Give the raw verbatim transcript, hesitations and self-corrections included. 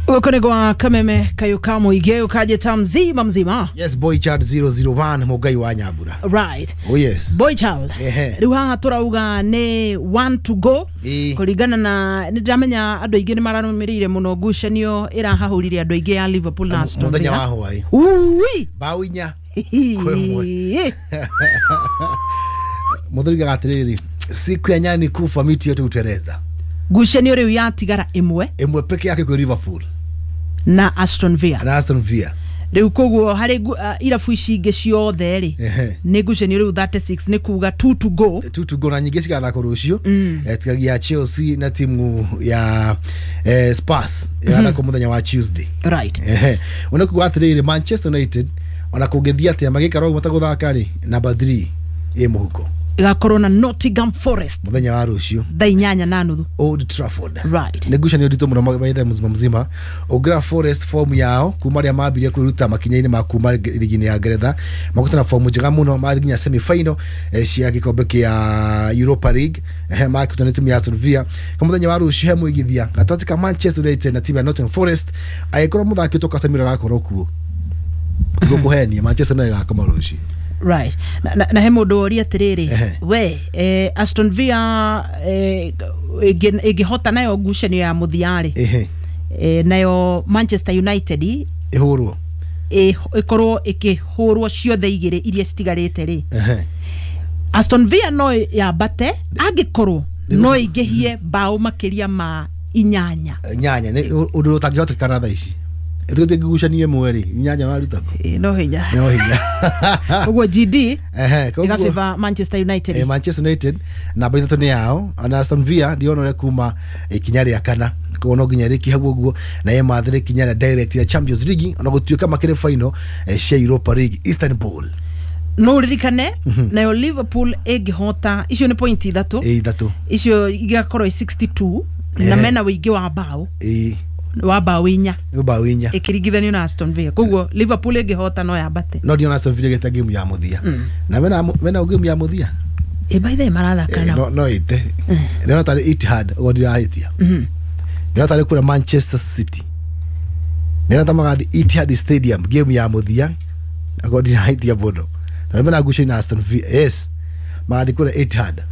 Gũkũ nĩ gwa Kameme Kayũ ka Mũingĩ, ũkanjĩta mzima mzima. Yes, Boy Child zero zero one, Mũngai wa Nyambura. Right. Oh yes. Boy Child. Ehe. Rĩu haha tũrauga nĩ one to go. Ĩĩ. Kũringana na nĩ ndĩramenya andũ aingĩ nĩ mararũmĩrĩire mũno ngucanio ĩrahahũrire andũ aingĩ ya Liverpool na Aston Mũthenya Villa. wa hwaĩ. Ui. Bao inya. Kwa ĩmwe. Mũthuri atĩrĩrĩ, siku ya nyani kufa miti yote huteleza. Ngucanio rĩu yatigara ĩmwe Ĩmwe peke yake kwa Liverpool na Aston Villa. na Aston Villa. Rĩu koguo harĩ ngu- uh, irabu ici ingĩ ciothe rĩ Ehe. nĩ ngucanio rĩu thirty-six, nĩ kuga two to go. Two to go na nyingĩ cigathakwo rũciũ. Eh, tigagia Chelsea na timu ya eh, Spurs igathakwo mũthenya wa Tuesday. Right. Ehe. Ona kuga atĩrĩrĩ, Manchester United ona kũngĩthiĩ atĩa magĩikara ũguo matagũthaka rĩ, number three ĩ mũhuko. Ĩgakorwo na Nottingham Forest mũthenya wa rũciũ thaa inyanya na nuthu Old Trafford. Right. Nĩ ngucanio nditũ mũno maithe mzima mzima. Ũngĩra Forest form yao kuma rĩa mambirie kwĩruta makinya-inĩ ma kuma ligi-inĩ ya Ngeretha, makũte na form njega mũno, mathiĩ nginya semi final eh, cia gĩkombe kĩa Europa League, eh, makĩhotwo nĩ timu ya Aston Villa. Kwa mũthenya wa rũciũ he mũigithia gatagatĩ ka Manchester United na timu ya Nottingham Forest, angĩkorwo mũthaki ũtwo Casemiro agakorwo kuo gũkũhenia, Manchester nayo ĩgakoma rũciũ. Right. Na, na, na he mũndũ woria atĩrĩrĩ, Ehe. we eh, Aston Villa eh, ĩngĩ- ĩngĩhota nayo ngucanio ya mũthia rĩ, Ehe. eh, nayo Manchester United ĩhũrwo ĩ- ĩkorwo ĩkĩhũrwo ciothe igĩrĩ iria citigarĩte rĩ, Ehe. Aston Villa no yambate angĩkorwo no ĩingĩhie mbaũ makĩria ma inyanya. Nyanya nĩ ũndũ ũtangĩhotekana thaa ici, ĩtũgĩte ngucanio ĩmwe rĩ, inyanya ũraruta kũ? Ĩ, no hinya. No hinya. Ũguo G D Ehe, koguo- ĩgabĩba Manchester United. Eh, Manchester United namba ithatũ nĩ yao, na Aston Villa ndiona ũrĩa kuma ikinya rĩa kana, koguo no nginya ĩrĩkie hau ũguo na ĩmathĩre ikinya rĩa direct ya Champions League, ona gũtuĩka makĩrĩ final eh, cia Europa League Istanbul. No ũririkane nayo Liverpool ĩngĩhota icio nĩ point ithatũ, ĩ ithatũ, icio igakorwo i sixty-two na Ehe. mena wĩingĩ wa mbaũ ĩ wa mbaũ inya nĩ mbaũ inya ĩkĩringithanio na Aston Villa, koguo Liverpool ĩngĩhota no yambate. No ndiona Aston Villa ĩgĩte game ya mũthia na mena mena game ya mũthia. Ĩ by the way marathaka Eh, nao. no no ĩte ndĩrona tarĩ Etihad ũguo, ndirahĩtia, ndĩrona tarĩ kũrĩa Manchester City, ndĩrona ta magathiĩ Etihad Stadium game ya mũthia akorwo ndirahĩtia mũno, tondũ mena ngucanio na Aston Villa. Yes, magathiĩ kũrĩa Etihad.